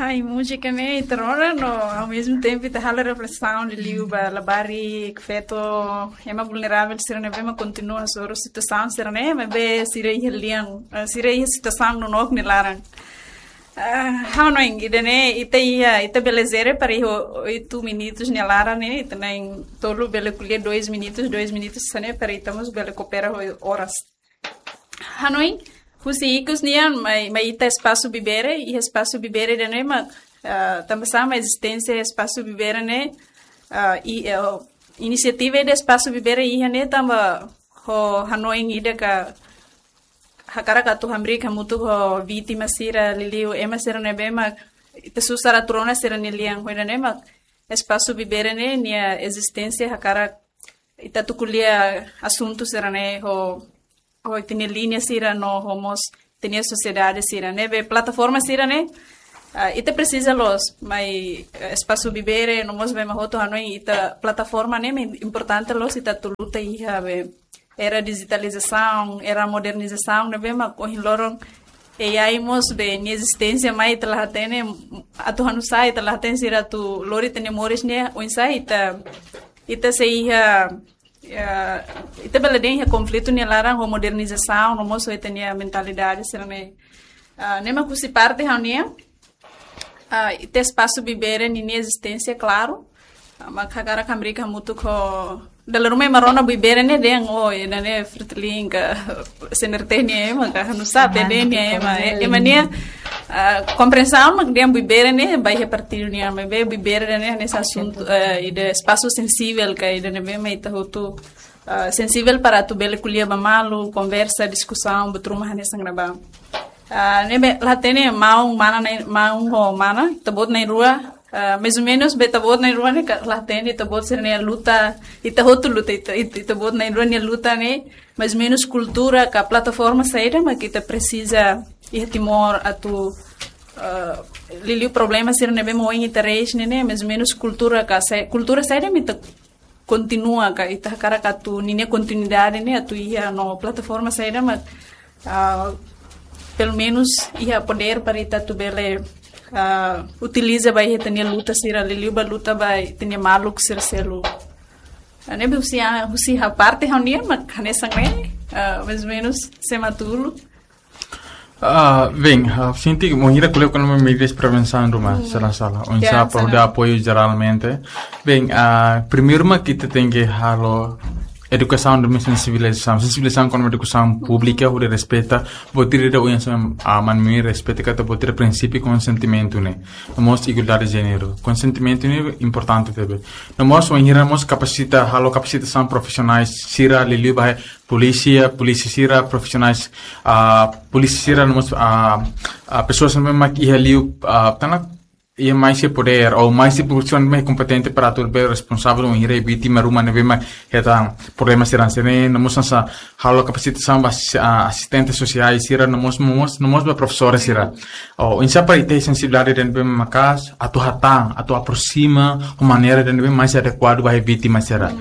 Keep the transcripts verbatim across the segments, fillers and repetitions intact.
Ai, múzika ne'e ita rona no ao mesmo tempo ita halo reflexão liuliu ba labarik, feto, ema vulnerável sira ne'ebé mak kontinua hasoru situasaun sira-ne'e, maibé sira iha lian, ah, sira iha situasaun nonook nia laran. Ah, ha'u hanoin ida-ne'e ita iha, ita bele jere para iha oito minutos nia laran ne'e, ita na'in-tolu bele ko'alia dois minutos, dois minutos hanesan ne'e para ita mós bele koopera ho oras. Hanoin, husi ikus nian, mai, mai ita espasu Bibere, iha espasu Bibere ida-ne'e mak, ah, tanba sá mak ezisténsia espasu Bibere ne'e, ah, i, eh, inisiativa ida espasu Bibere iha ne'e tanba ho hanoin ida ka hakarak atu hamriik hamutuk ho vítima sira liuliu ema sira ne'ebé mak ita susar atu rona sira-nia lian, ho ida-ne'e mak espasu Bibere ne'e nia ezisténsia hakarak ita atu ko'alia asuntu sira-ne'e ho, ho ita-nia liña sira no ho mós ita-nia sosiedade sira-ne'e. Be plataforma sira-ne'e, ah, ita presiza loos, mai, eh, espasu Bibere no mós be ema hotu hanoin ita plataforma ne'e mak importante loos ita atu luta iha be era dijitalizasaun, era modernizasaun ne'ebé mak ohin loron A I mós be nia ezisténsia mai ita la hatene, atu hanusá ita la hatene sira atu lori ita-nia moris ne'e, oinsá ita, ita sei iha, eh, ita bele dehan iha konflitu nia laran ho modernizasaun, no mós ho ita-nia mentalidade sira-ne'e. Ah, ne'e mak husi parte ha'u-nian, ah, ita espasu Bibere ninia ezisténsia, klaru. Ah, mak hakarak hamriik hamutuk ho, dala ruma ema rona Bibere ne'e dehan, oh, ida-ne'e Fretilin ka C N R T nia ema ka, hanusá, P D nia ema, eh, ema nia, ah, komprensaun mak dehan Bibere ne'e ba iha partidu nian, maibé Bibere ne'e hanesan asuntu, eh, ida espasu sensivel ka, ida ne'ebé mak ita hotu, ah, sensivel para atu bele ko'alia ba malu, konversa, diskusaun, buat ruma hanesan ne'ebá. Ah, ne'ebé la hatene maun mana na'in, maun ho mana, ita-boot na'in-rua, ah, mais ou menos be ita-boot na'in-rua ne'e ka la hatene, ita-boot sira-nia luta, ita hotu luta, ita, ita, ita-boot na'in-rua nia luta ne'e, mais ou menos kultura ka plataforma saida mak ita presiza iha Timor atu, ah, liuliu problema sira ne'ebé mak ohin ita reis ne'e, ne'e, mais ou menos kultura ka sa-, kultura saida mak ita kontinua ka ita hakarak atu ninia kontinuidade ne'e atu iha no plataforma saida mak, ah, pelumenus iha podér para ita atu bele, ah, utiliza ba iha ita-nia luta sira liuliu ba luta ba ita-nia maluk sira seluk. Ah, ne'ebé husi, ah, husi ha'u parte ha'u-nian mak hanesan ne'e, ah, mais ou menos sema tulu. Ah, bem, ah, sente que wainhira ko'alia kona-ba medidas prevensaun ruma, sala-sala. Oinsá para hodi apoiu jeralmente. Bem, ah, primeiru mak ita tenke halo edukasaun no sensibilizasaun. Sensibilizasaun kona-ba edukasaun públika, hodi respeita, buat ida-ne'e oinsá, ah, maun-alin respeita katak buat ida prinsípiu konsentimentu ne'e. No mós igualdade de jéneru. Konsentimentu ne'e importante tebes. No mós wainhira mós kapasita, halo kapasitasaun profisionais sira liuliu ba polísia, polísia sira, profisionais, ah, polísia sira, no mós, ah, ah, pesoas ne'ebé mak iha liu, ah, tana, iha mais iha podér, ou mais iha pozisaun ne'ebé kompetente para atu bele responsavel wainhira vítima ruma ne'ebé mak hetan problema sira hanesan ne'e, no mós hanesan halo kapasitasaun ba asi-, ah, asistente sosiál sira, no mós, no mós, no mós ba profesór sira. Ou, oinsá para ita sensibilidade ida ne'ebé maka'as, atu hatán, atu aproxima, ho maneira ida ne'ebé mais adekuadu ba vítima sira.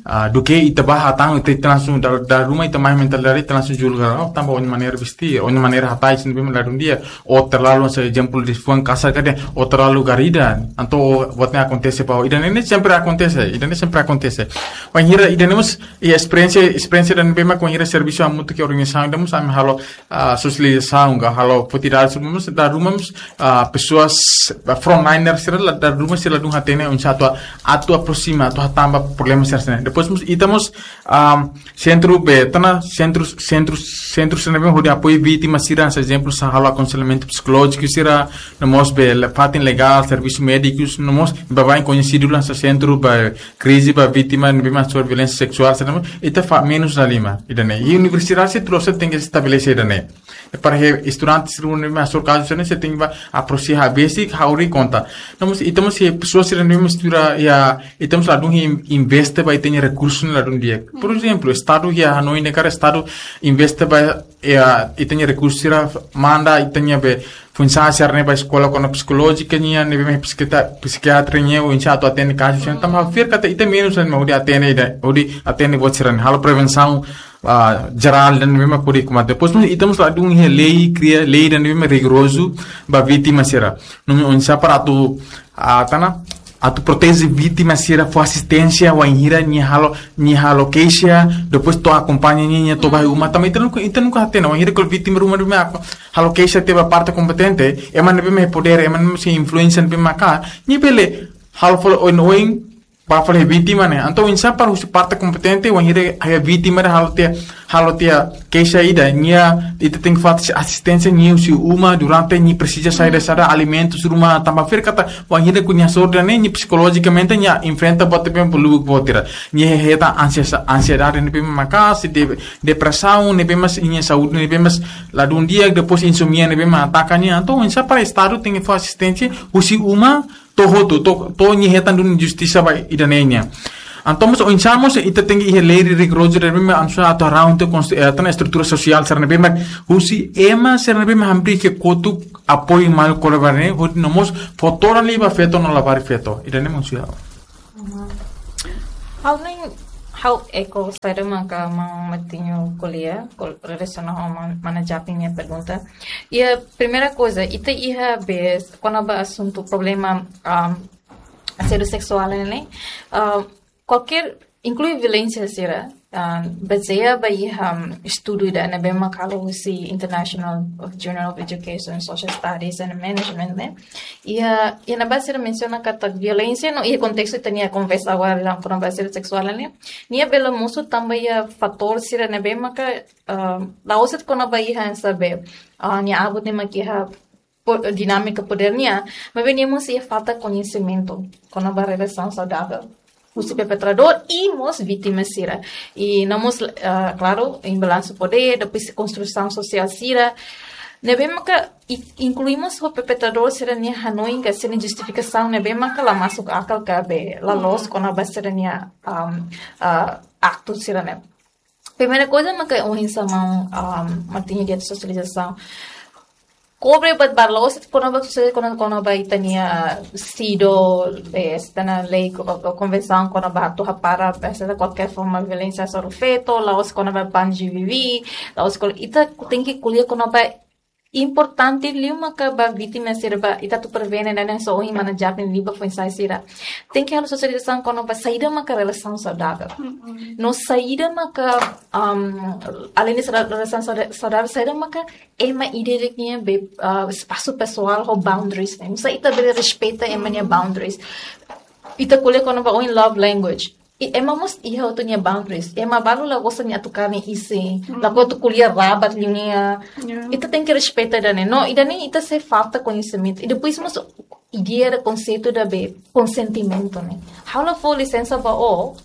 Ah, duké ita bá hatán, ita, ita langsung, dala, dala ruma ita mai mentalidade, ita langsung julga, oh, tanba ó-nia maneira vestir, ó-nia maneira hatais, ne'ebé mak ladún di'ak, ou terlalu, se ezemplu de fuan kasar ka dehan, ou terlalu garrida, entaun buat ne'e akontese ba ó. Ida-ne'e sempre akontese, ida-ne'e sempre akontese. Wainhira, ida-ne'e mós, iha esperiénsia, esperiénsia ida ne'ebé mak wainhira servisu hamutuk ho organizasaun, ida mós ami halo, ah, sosializasaun, ka halo atividade, mós dala ruma mós, ah, pesoas, ah, frontliners sira la, dala ruma sira ladún hatene, oinsá atu, atu aproxima, atu hatán ba problema sira hanesan ne'e. Depois mós, ita mós, ah, sentru be, tana, sentru, sentru, sentru sira ne'ebé hodi apoiu vítima sira, hanesan ezemplu, hanesan halo akonselhamentu psikolójiku sira, no mós be, le-, parte legál, servisu médikus, no mós, baibain koñesidu hanesan sentru ba krize ba vítima ne'ebé mak hasoru violénsia seksuál, sira ne'e, ita fahe menus dala lima, ida-ne'e. I universidade sira tuir sira tenke estabelese ida-ne'e. I para iha estudante sira ne'ebé mak hasoru kazu sira-ne'e, sira tenke bá aproxima besik, hauri konta. No mós, ita mós iha pesoas sira ne'ebé mak estuda, iha, ita mós ladún in-, investe ba ita-nia rekursu ne'e ladún di'ak. Por ezemplu, Estadu iha hanoin ne'e karik Estadu investe ba, eh, ita-nia rekursu sira, manda ita-nia be foin-sa'e sira-ne'e ba eskola kona psikolójika nian, ne'ebé mak psikita-, psikiatria nian, oinsá atu atende kazu sira-ne'e, tanba ha'u fiar katak ita menus ema hodi atende ida, hodi atende buat sira-ne'e, halo prevensaun, ah, jerál ida ne'ebé mak hodi kombate. Depois mós ita mós ladún iha lei, kria lei ida ne'ebé mak rigorozu ba vítima sira. Nune'e oinsá para atu, ah, tana, atu proteje vítima sira, fó asisténsia wainhira nia halo, nia halo keixa, depois to'o akompaña nia, nia to'o ba iha uma. Tanba ita nunka, ita nunka hatene, wainhira kuandu vítima ruma ruma halo keixa tiha ba parte kompetente, ema ne'ebé mak iha podér, ema ne'ebé mak iha influénsia ne'ebé mak, nia bele halo fali oin-oin, ba fali vítima ne'e. Entaun oinsá para husi parte kompetente, wainhira iha vítima ne'e halo tiha, halo tiha keixa ida, nia, ita tenke fó asisténsia nia husi uma durante nia presiza saida saida, alimentus ruma, tanba fiar katak wainhira kuandu nia hasoru ida-ne'e, nia psikolojikamente nia enfrenta buat ne'ebé mak lubuk buat sira. Nia hetan ansias-, ansiedade ne'ebé mak maka'as, de-, depresaun ne'ebé mak, nia saúde ne'ebé mak ladún di'ak, depois insomnia ne'ebé mak ataka nia. Entaun oinsá para Estadu tenke fó asisténsia husi uma to'o hotu, to'o, to'o nia hetan duni justisa ba ida-ne'e nian. Entaun mós oinsá mós ita tenke iha lei rigorozu ne'ebé mak anusa atu haraun tiha konst-, eh, tana estrutura sosiál sira ne'ebé mak husi ema sira ne'ebé mak hamriik iha kotuk apoiu malu kole-bele ne'e, hodi no mós fó todan liu ba feto no labarik feto. Ida-ne'e mós ya. Ha'u ne'e, ha'u eku saida maka maun Martinho ko'alia, kol-, relasiona ho mana, mana Japin nia pergunta. Iha primeira coisa, ita iha be, kona-ba asuntu problema, um, asédiu seksuál ne'e, um, kualkér, inklui violénsia sira, um, bazeia ba iha, um, estudu ida ne'ebé mak halo husi International Journal of Education, Social Studies and Management ne'e. Iha, iha ne'ebá sira mensiona katak violénsia no, iha kontestu ita-nia konversa agora, kona-ba asédiu seksuál ne'e, nia bele mosu tanba iha fatór sira ne'ebé maka, ah, la'ós de'it kona-ba iha hanesan be, ah, nia abut ne'e mak iha po-, dinámika podér nian, maibé nia mós iha falta koñesimentu kona-ba relasaun saudavel husi perpetradór i mós vítima sira. I no mós, ah, klaru, imbalansu podér, depois konstrusaun sosiál sira ne'ebé maka i-, inklui mós ho perpetradór sira-nia hanoin ka sira-nia justifikasaun ne'ebé maka la masuk akal ka be la loos kona-ba sira-nia, um, ah, aktu sira-ne'e. Primeira coisa maka oinsá maun, um, Martinho, iha sosializasaun. Kobre ba, ba la'ós de'it kona-ba sosializasaun kona, kona-ba ita-nia, ah, CEDAW, eh, ita-nia lei ko, ko, konvensaun kona-ba atu hapara, eh, hanesan kualkér forma violénsia hasoru feto, la'ós kona-ba ban GBV, la'ós kol-, ita tenke ko'alia kona-ba importante liu maka ba vítima sira ba, ita atu prevene, ne'e hanesan ohin mana Japin liu ba foin-sa'e sira. Tenke halo sosializasaun kona-ba saida maka relasaun saudavel. Mm-mm. No saida maka, um, além de sauda-, relasaun sauda-, saudavel, saida maka ema ida-idak nia be, uh, espasu pesoál ho boundaries ne'e. Oinsá ita bele respeita ema nia boundaries. Ita ko'alia kona-ba ohin love language. I ema mós iha hotu nia boundaries. Ema balu la gosta nia atu karne isin. Mm. Lakohi atu ko'alia rabat liu nia. Yeah. Ita tenke respeita ida-ne'e. No, ida-ne'e ita sei falta koñesimentu. I depois mós ideia ka konseitu ida be konsentimentu ne'e. Ha'u la fó lisensa ba ó,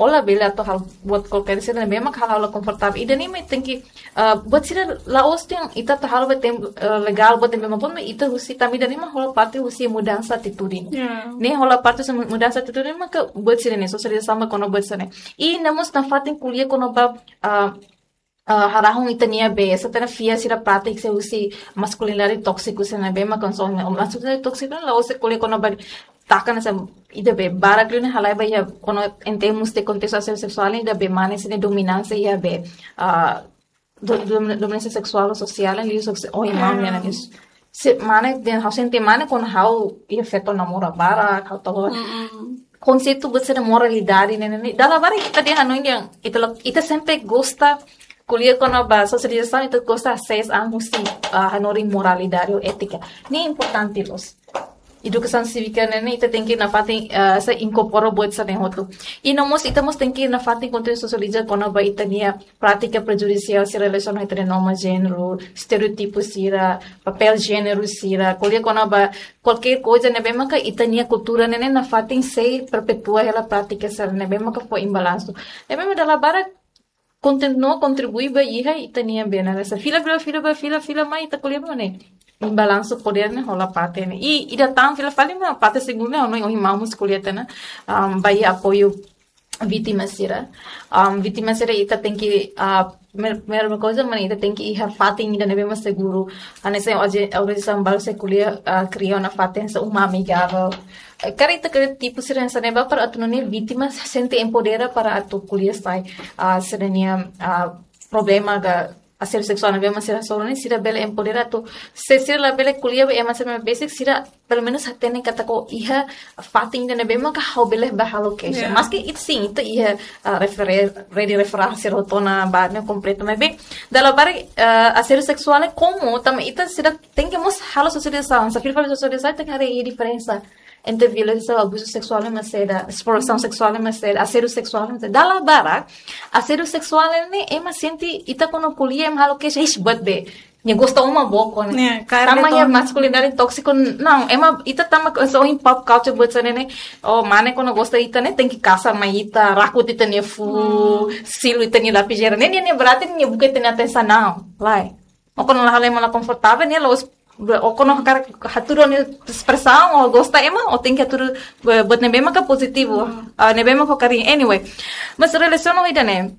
ó labele atu halo buat kualkér sira ne'ebé mak halo ha'u la konfortavel. Ida-ne'e mak tenke, ah, buat sira la'ós de'it ita atu halo ba tem-, ah, legál, buat ne'ebé mak pon, ita husi tanba ida-ne'e mak hola parte husi mudansa atitude. Ya. Ne'e hola parte husi mu-, mudansa atitude maka buat sira-ne'e, sosializasaun ba kona-ba buat sira-ne'e. I no mós nafatin ko'alia kona-ba, ah, ah, harahun ita-nia be, hanesan fiar sira prátika husi maskulinidade tóksiku sira ne'ebé mak konsome. Maskulinidade tóksiku ne'e la'ós ko'alia kona-ba taka hanesan ida be, barak liu ne'e halai ba iha kona-ba em termos de kontestu asédiu seksuál ne'e ida be mane sira-nia dominánsia iha be, ah, do-, do-, dominánsia seksuál ou sosiál, liuhosi ohin maun nia analiza. Se mane, dehan ha'u sente mane kuandu ha'u iha feto namora barak, ha'u tau. Mm-mm. Konseitu buat sira moralidade ne'e, ne'e, ne'e. Dala barak ita dehan hanoin dehan, ita lo, ita sempre gosta ko'alia kona-ba sosializasaun, ita gosta hasees an husi, ah, hanorin moralidade ou étika. Ne'e importante loos. Edukasaun sívika ne'e, ne'e ita tenke nafatin, ah, sei inkorpora buat sira-ne'e hotu. I no mós ita mós tenke nafatin kontinua sosializa kona-ba ita-nia prátika prejudisiál sira relasiona ho ita-nia norma jéneru, estereótipu sira, papél jéneru sira, ko'alia kona-ba kualkér koisa ne'ebé maka ita-nia kultura ne'e, ne'e nafatin sei perpetua hela prátika sira ne'ebé maka fó imbalansu. Ne'ebé mak dala barak kontin-, no kontribui ba iha ita-nia be hanesan fila, fila, fila, ba fila, fila mai ita ko'alia ba ne'e. Imbalansu podér ne'e hola parte ne'e. I, ida tan fila fali mak parte segundu ne'e, ha'u hanoin ohin maun mós ko'alia tiha ona, um, ba iha apoiu vítima sira. Um, vítima sira ita tenke, ah, mer-, primeira coisa, mana ita tenke iha fatin ida ne'ebé mak seguru. Hanesan oje, oje sambal se ko'alia, ah, kria ona fatin hanesan uma amigável. Eh, karik ita kria tipu sira hanesan ne'ebá para atu nune'e vítima sente empodera para atu ko'alia sai, ah, sira-nia, ah, problema ka asédiu seksuál ne'ebé mak sira hasoru ne'e, sira bele empodera atu, se sira labele ko'alia ba ema sira besik, sira pelumenus hatene katak iha fatin ida ne'ebé maka ha'u bele bá halo keixa. Yeah. Maski ita sin, ita iha, ah, refere-, rede referál sira hotu ona ba ne'e kompletu, maibé dala barak, ah, asédiu seksuál ne'e komu, tanba ita sira tenke mós halo sosializasaun, se fila fali sosializasaun, tenke haree diferensa entre violénsia, abuzu seksuál mak saida, esplorasaun seksuál mak saida, asédiu seksuál mak saida. Dala barak, asédiu seksuál ne'e ema sente, ita kuandu ko'alia, ema halo keixa, ixi, buat be. Nia gosta uma book ne'e. Nia, karena tanba iha to- maskulinidade tóksiku, não, ema, ita tanba só iha pop culture buat sira-ne'e, oh, mane kuandu gosta ita ne'e, tenke kasar mai ita, rakut ita-nia fuuk, hmm, silu ita-nia lapizeira. Ne'e, ne'e, ne'e berarti nia buka ita-nia atensaun, não, lae. Ou kuandu la halo ema la konfortavel, nia la'ós, ou kuandu hakarak hatudu nia espresaun, ou gosta ema, ou tenke hatudu, eh, buat ne'ebé maka pozitivu, hmm, ah, ne'ebé maka ho kariñu. Anyway, mas relasiona ho ida-ne'e,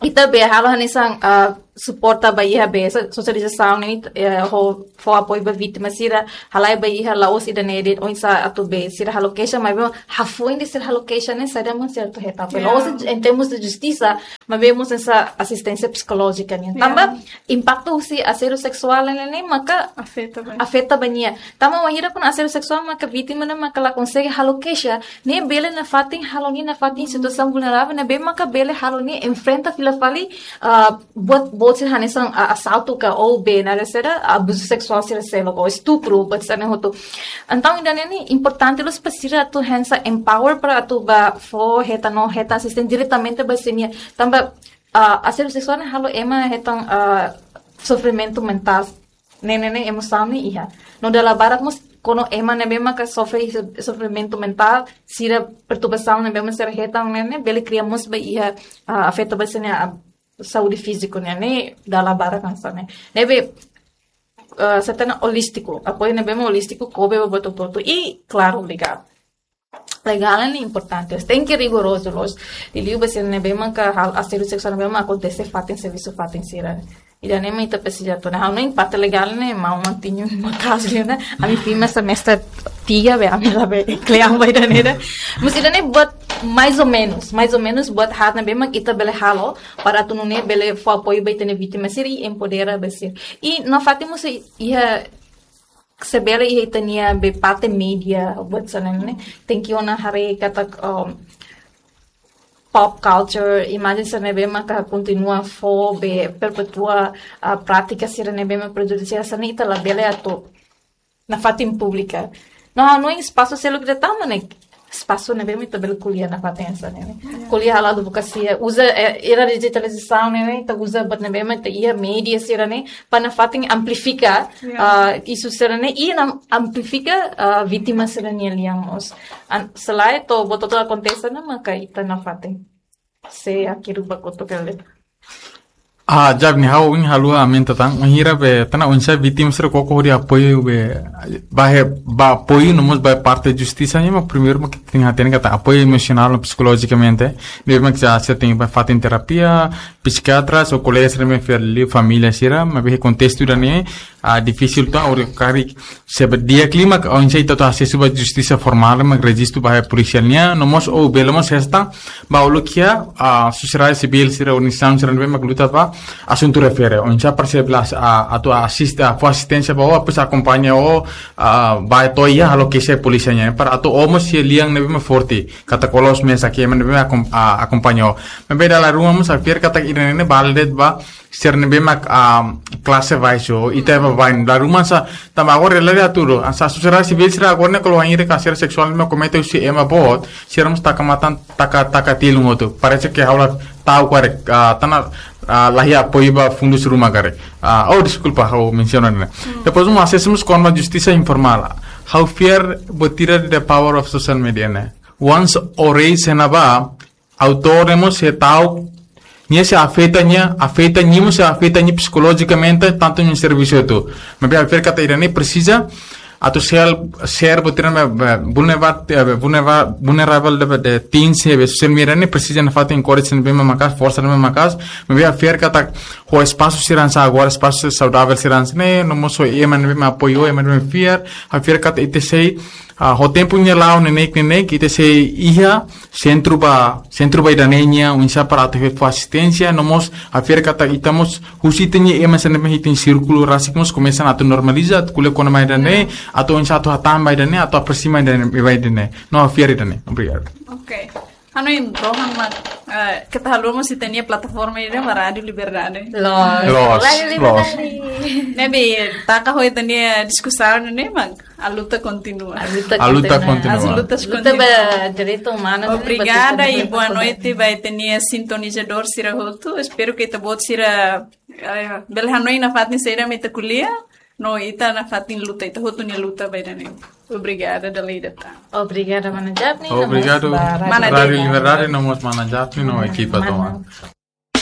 ita bele halo hanesan, ah, suporta ba iha be, so-, sosializasaun ne'e, eh, ho, fó apoiu ba vítima sira, halai ba iha la'ós ida-ne'e de'it oinsá atu be, sira halo keixa, maibé hafoin de sira halo keixa ne'e, saida mak sira atu hetan. Yeah. La'ós em termos de justisa, maibé mós hanesan asisténsia psikolójika nian. Yeah. Tanba impaktu husi asédiu seksuál ne'e, ne'e maka afeta ba, afeta ba nia. Tanba wainhira kuandu asédiu seksuál maka vítima ne'e maka la konsege halo keixa, ne'e bele nafatin halo nia nafatin situasaun vulneravel, ne'ebé maka bele halo nia enfrenta fila fali, ah, buat, buat sira hanesan, ah, asaltu ka ou be, naran saida, abuzu seksuál sira seluk, ou estupru, buat sira-ne'e hotu. Entaun, ida-ne'e ne'e importante loos para sira atu hanesan empower para atu bá fó hetan no hetan asistente diretamente ba sira-nia. Tanba, ah, asédiu seksuál ne'e halo ema hetan, ah, sofrimentu mentál. Ne'e, ne'e, ne'e emosaun ne'e iha. No dala barak mós kuandu ema ne'ebé maka sofre, sofrimentu mentál, sira perturbasaun ne'ebé mak sira hetan ne'e, ne'e bele kria mós ba iha, ah, afeta ba sira-nia, ah, saúde fíziku ne'e, ne'e dala barak hanesan ne'e. Ne'ebé, ah, se hatene holístiku, apoiu ne'ebé mak holístiku, kobre ba buat hotu-hotu i, klaru, legál. Legál ne'e importante, tenke rigorozu loos. Liuliu ba sira ne'ebé maka halo asédiu seksuál ne'ebé mak akontese fatin servisu fatin sira. Ida-ne'e mak ita presiza atu, ne'e ha'u hanoin parte legál ne'e maun Antinho mak kazu ne'e. Ami firma semestre tiga be, ami labele kle'an ba ida-ne'e. Mas ida-ne'e buat mais ou menos, mais ou menos buat haat ne'ebé mak ita bele halo para atu nune'e bele fó apoiu ba ita-nia vítima sira i empodera ba sira. I nafatin mós iha, se bele iha ita-nia be parte mídia, buat sira-ne'e, tenke ona haree katak, um, pop culture, imajen sira ne'ebé maka kontinua fó be perpetua, ah, prátika sira ne'ebé mak prejudisiál sira-ne'e ita labele atu nafatin publika. No, no espasu seluk ida tama ne'e, espasu ne'ebé mak ita bele ko'alia nafatin hanesan ne'e. Ya. Ko'alia halo advokasia, uza, eh, era dijitalizasaun ne'e, ita uza buat ne'ebé mak ita iha mídia sira-ne'e, para nafatin amplifika, ya, ah, isu sira-ne'e, i na amplifika, ah, vítima sira-nia lian mós. An-, selae to'o buat hotu-hotu akontese ne'e maka ita nafatin. Se akiru ba koto kele. Ah, jab ni ha'u ohin haluha aumenta tan, ohin hira be, tanba oinsá vítima sira koko hodi apoiu be, ba he, ba apoiu no mós ba parte justisa nian, mas primeiru mak ita tenke hatene katak apoiu emosionál no psikolojikamente, ne'ebé mak sira, sira tenke ba fatin terapia, psikiatra, ou kolega sira mak fiar liu família sira, maibé kontestu ida-ne'e, ah, difisil tan, ou karik se be di'ak liu mak oinsá ita atu asesu ba justisa formál, mak rejistu ba polísia nian, no mós ou bele mós resta, ba uluk iha, ah, sosiedade sivíl sira, organizasaun sira ne'ebé mak luta ba asuntu refere. Oinsá para sira bele, ah, atu asiste, ah, fó asisténsia ba ó, depois akompaña ó, ah, ba to'o iha halo keixa polísia nian. Para atu ó mós iha lian ne'ebé mak forte. Katak ó la'ós mesak, ema ne'ebé mak akom-, ah, akompaña ó. Maibé dala ruma mós ha'u fiar katak ida-ne'e bele de'it ba sira ne'ebé mak, ah, klase baixu, ita ba bain. Dala ruma sa, tanba agora realidade atu, hanesan sosiedade sivíl sira agora ne'e kalau hanesan asédiu seksuál mak komete husi ema boot, sira mós taka matan, taka, taka tilun hotu. Parese ke ha'u la ta'uk karik, ah, tanba, ah, la iha apoiu ba fundus ruma karik. Ah, oh, deskulpa, ha'u mensiona ne'e. Hmm. Depois, um acesso mós kona-ba justisa informál. Ha'u fiar buat ida the power of social media ne'e. Once ó rei sena ba, autór ne'e mós sei ta'uk, nia sei afeta nia, afeta nia mós sei afeta nia psikolojikamente, tantu nia servisu hotu. Maibé ha'u fiar katak ida-ne'e presiza, atu share, share buat sira ne'ebé, be, vulnerable, be, vulnerable, vulnerable de, de teens ne'ebé social media ne'e presiza nafatin encourage ne'ebé maka'as, forsa ne'ebé maka'as, maibé ha'u fiar katak ho espasu sira hanesan agora, espasu saudavel sira hanesan ne'e, no mós ho ema ne'ebé mak apoiu, ema ne'ebé fiar, ha'u fiar katak ita sei, ah, ho tempu nia la'o neineik neineik, ita sei iha sentru ba, sentru ba ida-ne'e nian, oinsá para atu fó asisténsia, no mós ha'u fiar katak ita mós husi ita-nia ema sira ne'ebé iha ita-nia sírkulu rasik mós komesa atu normaliza, atu ko'alia kona-ba ida-ne'e, atu oinsá atu hatán ba ida-ne'e, atu aproxima ida-ne'e, ba ida-ne'e. No, ha'u fiar ida-ne'e. Obrigadu. Ok. Hanoin, Rohan, mak, eh, keta haluha mós ita-nia plataforma ida mak Rádiu Liberdade. Loos. Loos, Rádiu loos. Liberdade. Ne'ebé, taka ho ita-nia diskusaun ne'e, mak, a luta continua. A luta A luta continua. Continua. As lutas Luta continuam. ba direitu umanu, Obrigada ba e boa noite ba ita-nia sintonizadór sira hotu. Espera katak ita-boot sira, eh, bele hanoin nafatin saida mak ita ko'alia. No ita nafatin luta, ita hotu nia luta ba ida-ne'e. Obrigada, dala ida tan. Obrigada, mana Japni, Obrigadu, no mós ba Rádiu Mana Rádiu Deni. Liberdade, no mós mana Japni, no ekipa Mana tomak.